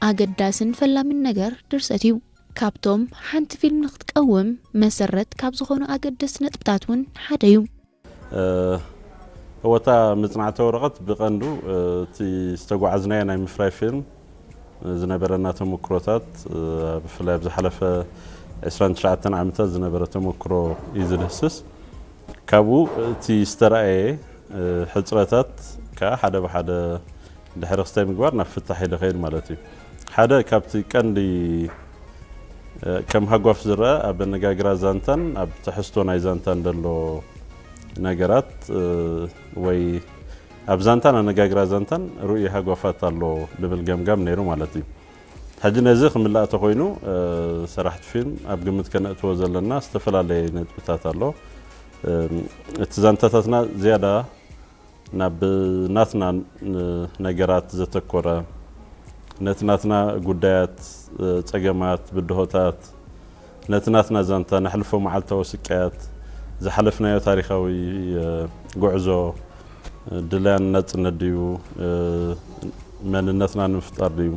ኣገዳስን ፈላሚን ነገር ድርሰት እዩ። ካብቶም ሓንቲ ፊልም ንክትቀውም መሰረት ካብ ዝኾኑ ኣገደስቲ ነጥብታት እውን ሓደ እዩ። እወታ መፅናዕቲ ወረቐት ብቐንዱ እቲ ዝተጓዓዝናዮ ናይ ምፍራይ ፊልም ዝነበረና ተመክሮታት፣ ብፍላይ ኣብ ዝሓለፈ ዕስራን ትሽዓተን ዓመታት ዝነበረ ተመክሮ እዩ ዝድህስስ። ካብኡ እቲ ዝተረኣየ ሕፅረታት ከዓ ሓደ ብሓደ ድሕሪ ክስታይ ምግባር ናብ ፍታሕ ይደኸይድ ማለት እዩ። ሓደ ካብቲ ቀንዲ ከም ሃጓፍ ዝረአ ኣብ ኣነጋግራ ዛንታን ኣብ ትሕዝቶ ናይ ዛንታን ዘሎ ነገራት ወይ ኣብ ዛንታን ኣነጋግራ ዛንታን ርኡይ ሃጓፋት ኣሎ ልብል ገምጋም ነይሩ ማለት እዩ። ሕጂ ነዚ ክምላእ ተኮይኑ ሰራሕቲ ፊልም ኣብ ግምት ከነእትዎ ዘለና ዝተፈላለየ ነጥብታት ኣሎ። እቲ ዛንታታትና ዝያዳ ናብ ናትና ነገራት ዘተኮረ፣ ነቲ ናትና ጉዳያት፣ ጸገማት፣ ብድሆታት፣ ነቲ ናትና ዛንታ፣ ነሕልፎ መዓልታዊ ስቃያት፣ ዝሓለፍናዮ ታሪኻዊ ጉዕዞ፣ ድልያን ናጽነት ድዩ፣ መንነትና ንምፍጣር ድዩ፣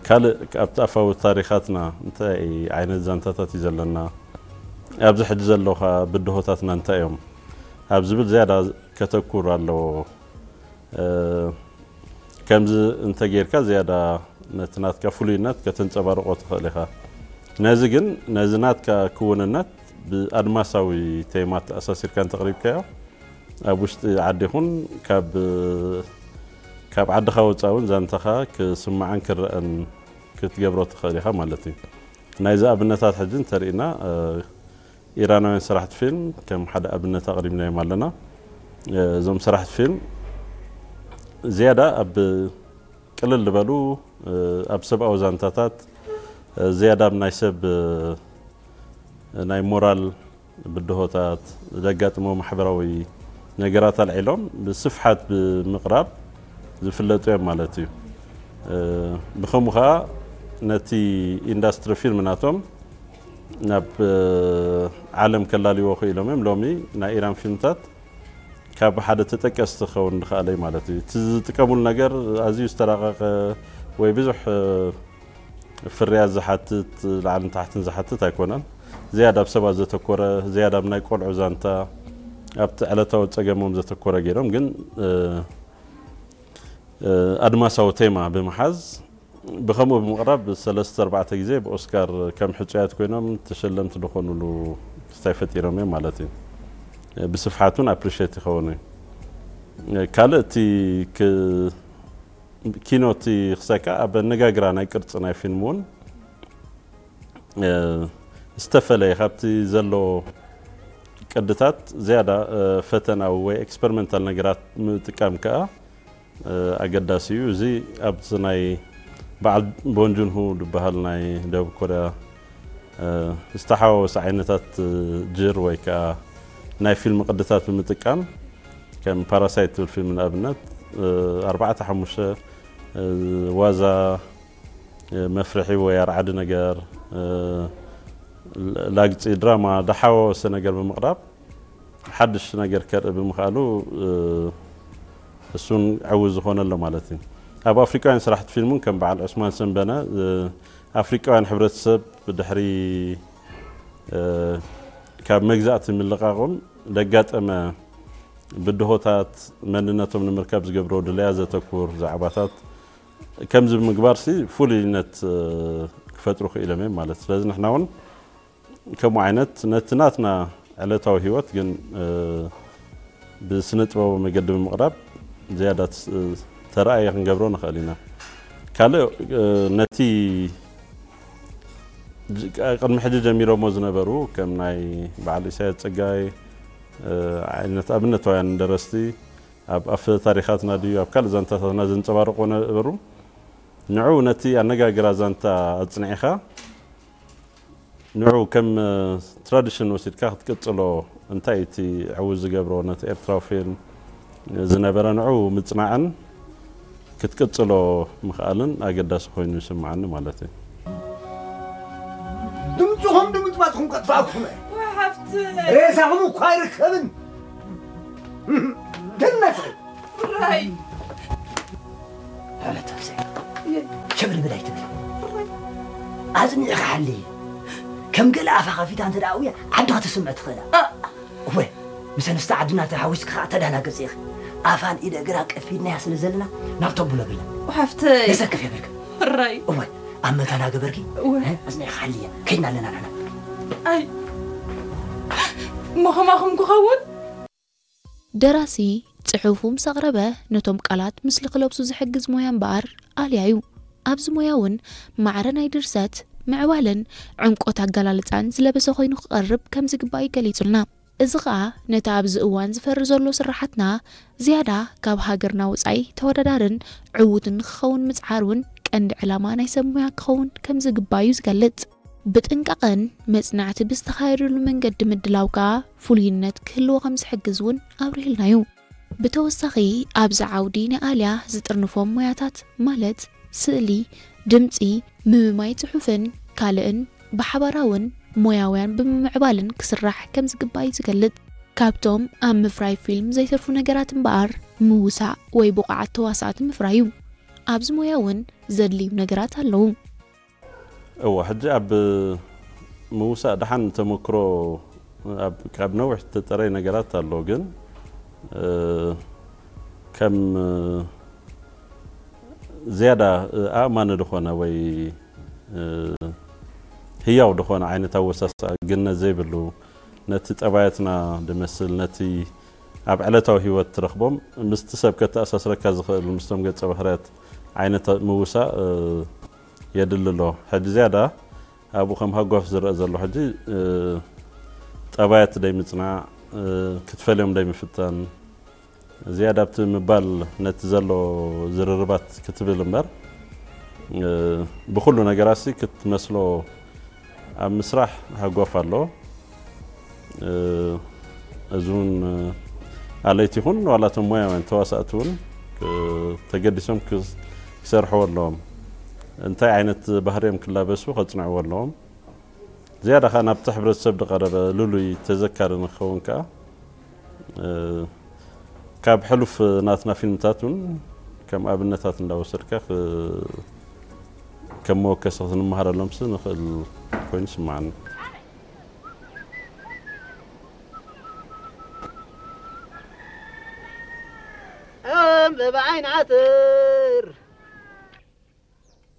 ካልእ ኣብቲ ኣፋዊ ታሪኻትና እንታይ ዓይነት ዛንታታት እዩ ዘለና፣ ኣብዚ ሕጂ ዘለኻ ብድሆታትና እንታይ እዮም ኣብ ዝብል ዝያዳ ከተኩር ኣለዎ። ከምዚ እንተጌርካ ዝያዳ ነቲ ናትካ ፍሉይነት ከተንጸባርቆ ትኽእል ኢኻ። ነዚ ግን ነዚ ናትካ ክውንነት ብኣድማሳዊ ቴማ ተኣሳሲርካ እንተቕሪብካዮ ኣብ ውሽጢ ዓዲ ይኹን ካብ ካብ ዓድኻ ወፃእ እውን ዛንታኻ ክስማዕን ክረአን ክትገብሮ ትኽእል ኢኻ ማለት እዩ። ናይዚ ኣብነታት ሕጂ እንተርኢና ኢራናውያን ሰራሕቲ ፊልም ከም ሓደ ኣብነት ኣቕሪብናዮም ኣለና። እዞም ሰራሕቲ ፊልም ዝያዳ ኣብ ቅልል ዝበሉ ኣብ ሰብኣዊ ዛንታታት ዝያዳ ኣብ ናይ ሰብ ናይ ሞራል ብድሆታት ዘጋጥሞ ማሕበራዊ ነገራት ኣልዒሎም ብስፍሓት ብምቕራብ ዝፍለጡ እዮም ማለት እዩ። ብኸምኡ ከዓ ነቲ ኢንዳስትሪ ፊልም ናቶም ናብ ዓለም ከላልይዎ ክኢሎም እዮም። ሎሚ ናይ ኢራን ፊልምታት ካብ ሓደ ተጠቀስቲ ክኸውን ዝኸኣለ እዩ ማለት እዩ። እቲ ዝጥቀሙሉ ነገር ኣዝዩ ዝተራቐቐ ወይ ብዙሕ ፍርያት ዝሓትት ላዕልን ታሕትን ዝሓትት ኣይኮነን። ዝያዳ ኣብ ሰባት ዘተኮረ፣ ዝያዳ ኣብ ናይ ቆልዑ ዛንታ፣ ኣብቲ ዕለታዊ ጸገሞም ዘተኮረ ገይሮም ግን ኣድማሳዊ ቴማ ብምሓዝ ብኸምኡ ብምቕራብ ሰለስተ ኣርባዕተ ግዜ ብኦስካር ከም ሕጹያት ኮይኖም ተሸለምቲ ዝኾኑሉ ክስታይ ፈጢሮም እዮም ማለት እዩ። ብስፍሓት እውን ኣፕሪሼት ይኸውን እዩ። ካልእ እቲ ኪኖ እቲ ክሳይ ከዓ ኣብ ኣነጋግራ ናይ ቅርፂ ናይ ፊልም እውን ዝተፈለየ ካብቲ ዘሎ ቅድታት ዝያዳ ፈተናዊ ወይ ኤክስፐሪመንታል ነገራት ምጥቃም ከዓ ኣገዳሲ እዩ። እዚ ኣብቲ ናይ በዓል ቦንጁንሁ ዝበሃል ናይ ደቡብ ኮርያ ዝተሓዋወሰ ዓይነታት ጅር ወይ ከዓ ናይ ፊልም ቅድታት ብምጥቃም ከም ፓራሳይት ትብል ፊልም ንኣብነት ኣርባዕተ ሓሙሽተ ዋዛ መፍርሒ ወይ ኣርዓዲ ነገር ላግፂ ድራማ ዝሓዋወሰ ነገር ብምቕራብ ሓድሽ ነገር ከርኢ ብምኽኣሉ እሱን ዕውት ዝኾነ ኣሎ ማለት እዩ። ኣብ ኣፍሪቃውያን ስራሕቲ ፊልም እውን ከም በዓል ዑስማን ሰንበነ ኣፍሪቃውያን ሕብረተሰብ ድሕሪ ካብ መግዛእቲ ምልቃቖም ዘጋጠመ ብድሆታት መንነቶም ንምርካብ ዝገብሮ ድለያ ዘተኩር ዛዕባታት ከምዚ ብምግባር ሲ ፍሉይነት ክፈጥሩ ክኢሎም እዮም ማለት። ስለዚ ንሕና እውን ከምኡ ዓይነት ነቲ ናትና ዕለታዊ ህይወት ግን ብስነ ጥበባዊ መገዲ ብምቕራብ ዝያዳ ተረኣየ ክንገብሮ ንኽእል ኢና። ካልእ ነቲ ቅድሚ ሕጂ ጀሚሮሞ ዝነበሩ ከም ናይ በዓል ኢሳያስ ጸጋይ ዓይነት ኣብነታውያን ደረስቲ ኣብ ኣፈ ታሪኻትና ድዩ ኣብ ካልእ ዛንታታትና ዘንጸባርቆ ነበሩ። ንዑ ነቲ ኣነጋግራ ዛንታ ኣጽኒዕኻ ንዑ ከም ትራዲሽን ወሲድካ ክትቅጽሎ እንታይ እቲ ዕውት ዝገብሮ ነቲ ኤርትራዊ ፊልም ዝነበረ ንዑ ምጽናዕን ክትቅጽሎ ምኽኣልን ኣገዳሲ ኮይኑ ይስምዓኒ ማለት እዩ። ድምፅኹም ብምጥፋእኹም ከጥፋእኩም እየ። ወይ ሓፍቲ ሬሳኹም እኳ ኣይርከብን። ተነስሒ። ብራይ ተነስሒ። ሸብልብል ኣይትብል። ኣጽኒዕኻ ሓሊ። ከም ገለ ኣፋ ከፊታ እንተ ደኣ ኣውያ ዓዲ ክትስምዕ ትኽእላ። እወ፣ ምስ ኣንስቲ ዓድና ተሓዊስኪ ኸዓ ተዳናገጺ ኢኺ። ኣፋን ኢደ እግራ ቀፊድናያ ስለ ዘለና ናብ ተብሎ ብላ። ሓፍተይ። የሰክፍ የብልክ። ሕራይ። እወ፣ ኣብ መታና ገበርኪ። እወ። እ፣ ኣጽኒዕኻ ሓልየ። ከይድና ኣለና ንሕና። ኣይ። እሞ ከማኹም ክኸውን? ደራሲ ጽሑፉ ምስ ኣቕረበ ነቶም ቃላት ምስሊ ክለብሱ ዝሕግዝ ሞያ እምበኣር ኣልያ እዩ። ኣብዚ ሞያ እውን ማዕረ ናይ ድርሰት፣ ምዕባለን ዕምቆት ኣገላልጻን ዝለበሰ ኮይኑ ክቐርብ ከም ዝግባእ እዩ ገሊጹልና። እዚ ኸኣ ነቲ ኣብዚ እዋን ዝፈሪ ዘሎ ስራሓትና ዝያዳ ካብ ሃገርና ወጻኢ ተወዳዳርን ዕዉትን ንክኸውን ምጽዓር እውን ቀንዲ ዕላማ ናይ ሰብ ሞያ ክኸውን ከም ዝግባእ እዩ ዝገልጽ። ብጥንቃቐን መጽናዕቲ ብዝተኻየደሉ መንገዲ ምድላው ከኣ ፍሉይነት ክህልዎ ከም ዝሕግዝ እውን ኣብሪህልና እዩ። ብተወሳኺ ኣብዚ ዓውዲ ንኣልያ ዝጥርንፎም ሞያታት ማለት ስእሊ፣ ድምጺ፣ ምምማይ ጽሑፍን ካልእን ብሓባራውን ሞያውያን ብምምዕባልን ክስራሕ ከም ዝግባእ እዩ ዝገልጽ። ካብቶም ኣብ ምፍራይ ፊልም ዘይተርፉ ነገራት እምበኣር ምውሳእ ወይ ብቑዓት ተዋሳእቲ ምፍራይ እዩ። ኣብዚ ሞያ እውን ዘድልዩ ነገራት ኣለዉ። እወ፣ ሕጂ ኣብ ምውሳእ ደሓን ተመክሮ ኣብ፣ ካብ ነዊሕ ዝተጠረየ ነገራት ኣሎ፣ ግን፣ እ፣ ከም፣ እ፣ ዝያዳ፣ እ፣ ኣእማኒ ዝኾነ ወይ፣ እ፣ ህያው ዝኾነ ዓይነት ኣወሳስኣ ግነት ዘይብሉ፣ ነቲ ጠባያትና ድመስል፣ ነቲ ኣብ ዕለታዊ ህይወት ትረኽቦም፣ ምስቲ ሰብ ከተኣሳስረካ ዝኽእል፣ ምስቶም ገጸ ባህርያት ዓይነት ምውሳእ፣ እ፣ የድሊ ኣሎ። ሕጂ ዝያዳ ኣብኡ ከም ሃጓፍ ዝረአ ዘሎ ሕጂ፣ እ፣ ጠባያት ደይምጽናዕ፣ እ፣ ክትፈልዮም ደይምፍታን፣ ዝያዳ ኣብቲ ምባል ነቲ ዘሎ ዝርርባት ክትብል እምበር፣ እ፣ ብኹሉ ነገራሲ ክትመስሎ ኣብ ምስራሕ ሃጓፍ ኣሎ። እ፣ እዚ እውን፣ እ፣ ኣለይቲ ይኹን ዋላ እቶም ሞያውያን ተዋሳእቲ እውን፣ እ፣ ተገዲሶም ክስ-፣ ክሰርሕዎ ኣለዎም። እንታይ ዓይነት ባህሪ እዮም ክላበሱ ከጽንዕዎ ኣለዎም። ዝያዳ ኸኣ ናብቲ ሕብረተሰብ ዝቐረበ ልሉይ ተዘካሪ ንክኸውን ከኣ፣ እ፣ ካብ ሕሉፍ ናትና ፊልምታት እውን ከም ኣብነታት እንዳወሰድካ ክ-፣ ከም መወከሲ ክንመሃረሎምሲ ንኽእል ኮይኑ ይስምዓኒ። ዕምበባ ዓይኒ ዓተር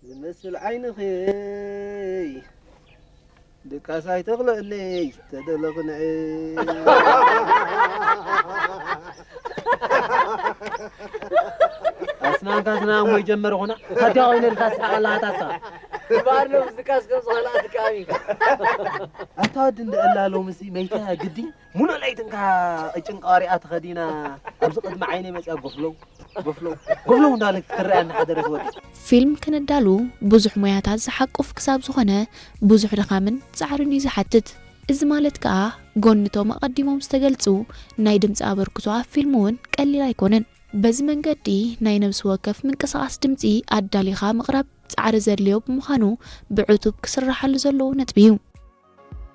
ዝመስል ዓይንኺ ድቃስ ኣይተኽልእለይ ተደለኽንዒ። ኣስናንካ ኣስናን ወይ ጀመርኹና ታዲያ ኮይነ ኢልካ ስሓቕ ኣለኻ ታሳ። ባርኖ ዝቃስ ከም ዝኾነ ኣትካሚካ። ኣታ ወዲ እንደ እላ ሎምሲ መይተ ግዲ ሙሉእ ለይትንካ እጭን ቃሪኣ ተኸዲና ኣብዚ ቅድሚ ዓይነይ መጽያ ጎፍለው ጎፍለው ጎፍለው እንዳለት ክትረኣያ እናሓደረት ወዲ። ፊልም ክነዳሉ ብዙሕ ሞያታት ዝሓቁፍ ክሳብ ዝኾነ ብዙሕ ድኻምን ጻዕርን እዩ ዝሓትት። እዚ ማለት ከኣ ጎንቶም ኣቐዲሞም ዝተገልጹ ናይ ድምጺ ኣበርክቶ ኣብ ፊልም እውን ቀሊል ኣይኮነን። በዚ መንገዲ ናይ ነብሲ ወከፍ ምንቅስቓስ ድምጺ ኣዳሊኻ ምቕራብ ጻዕሪ ዘድልዮ ብምዃኑ ብዕቱብ ክስራሓሉ ዘለዎ ነጥቢ እዩ።